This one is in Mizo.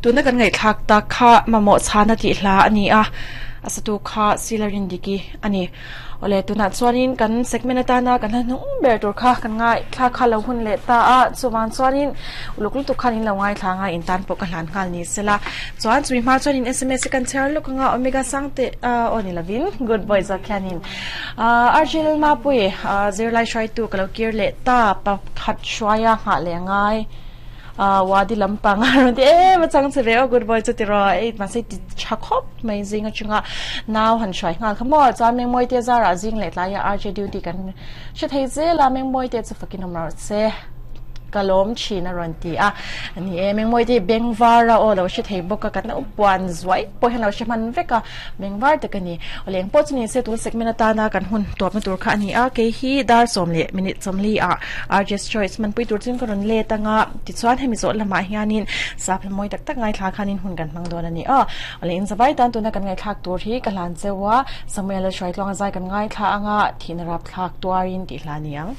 Tuna kan ngaihthlak tak kha mamawh chhana tih hla a ni a, a satu kha Silarin Diki a ni. Awle, tunah chuanin kan segment atana kan hla hnung ber tur kha kan ngaithla kha lo hun leh ta a, chuvang chuanin uluk lutuk khan in lo ngaithla anga in tan pawh ka hlan nghal ni sela. Chuan chumi hma chuanin sms hi kan chhiar lawk anga Omega Sangte aw ni lovin Good Boy zawk hianin Arjil Mapui zirlai hruaitu ka lo kir leh ta pakhat hruaia nghah leh angai. Wadi lampang a rawn ti em a chang che ve aw good boy chu ti rawh ei mahse ti tha khawp mai zing atanga nau han hruai nghal kha maw chuan Mengmawi te zarah zing leh tlaiah RJ duty kan hre thei zel a Mengmawi te chu fakin awm rawh se ka lawm thin a rawn ti a ni e Mengmawi te bengvar a aw lo hre thei bawk a kan lo puan zuai pawh hian lo hre hman vek a. Bengvar tak a ni. Awle eng pawh chu ni se tun segment atana kan hun tawpna tur kha a ni a, kei hi dar sawm leh minute sawmli ah RJ's Choice hmanpui tur chuan ka rawn let anga tichuan hemi zawh lamah hianin sap hla mawi tak tak ngaithla khanin hun kan hmang dawn a ni aw. Awle in zavai tan tuna kan ngaihthlak tur hi ka hlan cheu a, Samuel-a hruaitluanga zai kan ngaithla anga thihna rapthlak tuarin tih hla a ni ang.